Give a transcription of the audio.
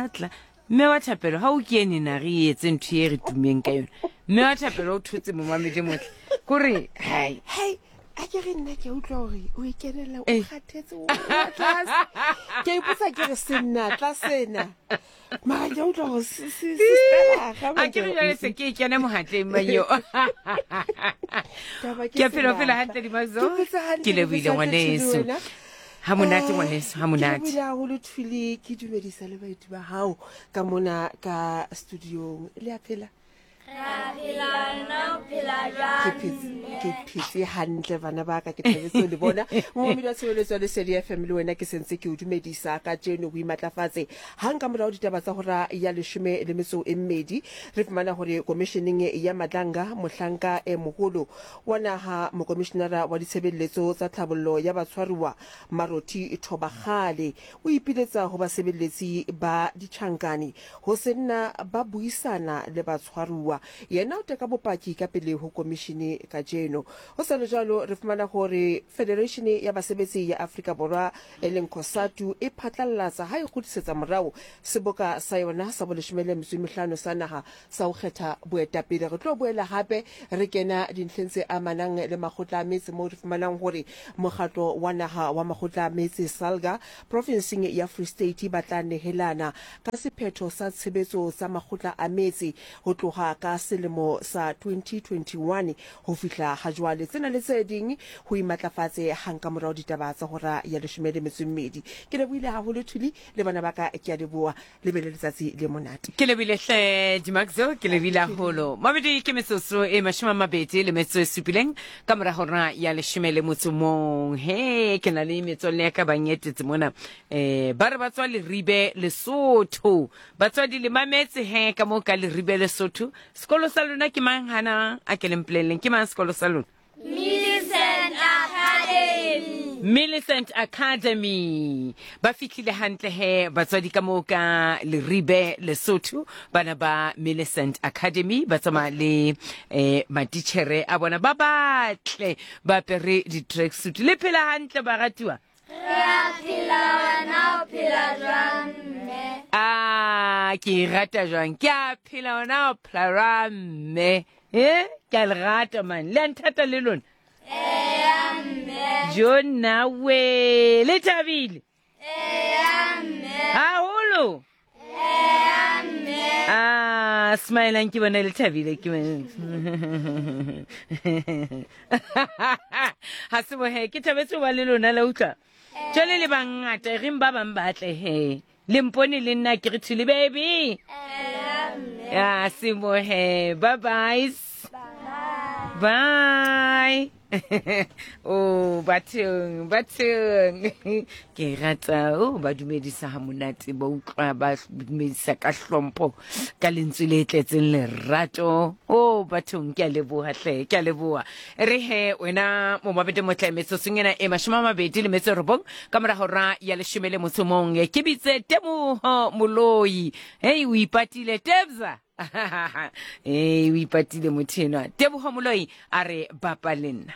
Senatla. Mme wa thapelo ga o ke ene na re etse ntho e re tumeng ka yone. Mme wa thapelo o thotse momamedi motle. Kore hai. Hai, a ke re nna ke utlwa gore o e kenela o Eh. kgathetse o wa tlase. Ke a ipotsa ke re senatla sena. Mara ke a utlwa gore se se se spela ga A ke re jale se ke e kene mogatleng manyo. Taba Ke a phela o phela senatla. hantle Dimakzo. Ke phetse hantle, Ke lebohile ke phetse hantle, Thuli, ngwaneso. wena. Ha monate ngwaneso, ha monate. Ke lebohile haholo Thuli, ke dumedisa le baeti ba hao ka mona ka studiong. Le a phela? Ra phela, nna o phela jwang? Ke phetse, ke phetse hantle bana ba ka, ke thabetse ho le bona. Momamedi wa tshebeletso ya Lesedi FM le wena ke sentse ke o dumedisa kajeno ho imatlafatse. Hang ka morao ditaba tsa hora ya leshome le metso e mmedi, re fumana hore komisheneng ya Madlanga mohlanka e moholo wa naha mokomishenara wa ditshebeletso tsa tlhabollo ya batshwaruwa Marothi Thobakgale o ipiletsa ho basebeletsi ba ditjhankane ho se nna ba buisana le batshwaruwa. Yena o teka bopaki ka pele ho komishene kajeno. Ho sa le jwalo, re fumana hore Federeishene ya Basebetsi ya Afrika Borwa e leng COSATU e phatlallatsa ha e kgutlisetsa morao seboka sa yona sa boleshome le metso e mehlano sa naha sa ho kgetha boetapele. Re tlo boela hape re kena dintlheng tse amanang le makgotla a metse moo re fumanang hore mokgatlo wa naha wa makgotla a metse, SALGA, profinseng ya Free State ba tla nehelana ka sephetho sa tshebetso tsa makgotla a metse ho tloha ka selemo sa 2021 ho fihla ha jwale. Tsena le tse ding ho imatlafatse hang ka morao ditaba tsa hora ya leshome le metso e mmedi. Ke lebohile haholo Thuli le bana ba ka, ke a leboha. Le be le letsatsi le monate. Ke lebile hle Dimakzo, ke lebile haholo. Mabedi ke metsotso e mashome a mabedi le metso e supileng ka mora hora ya leshome le motso mong. He, ke na le metswalle ya ka ba nyetetse mona. Eh, ba re ba tswa Leribe Lesotho. Batswadi le mametse he ka mo ka Leribe Lesotho. Sekolo sa lona ke mang hana? A ke le mpolelleng ke mang sekolo sa lona? Millicent Academy. Millicent Academy. Ba fihlile hantle he batswadi ka moo ka Leribe Lesotho bana ba Millicent Academy ba tsamaya le eh matitjhere a bona ba batle ba apere di-tracksuit. Le phela hantle baratuwa? Re a phela wena o phela jwang mme? A ke e rata jwang ke a phela wena o phela jwang mme e ke a le rata man le a nthata le lona Eya mme. Jo nawe le thabile Eya mme. haholo Eya mme. a smilang ke bona le thabile ke ga se bohe ke thabetse ho ba le lona la utlwa jale le bangata e reng ba bang ba tle he le mpone le nna ke re thule baby Eya mme. ya sebohe bye bye bye o bathong bathong ke rata o ba dumedisa ha monate ba utlwa ba dumedisa ka hlompho ka lentswe le tletseng lerato o bathong ke a leboha hle ke a leboha re he wena momabete motle metsotsong ena e mashome a mabedi le metso e robong ka mora hora ya leshome le motso mong ke bitse temoho moloi hei o ipatile tebza ee o ipatile motho enwa tebogo moloi a re bapa le nna.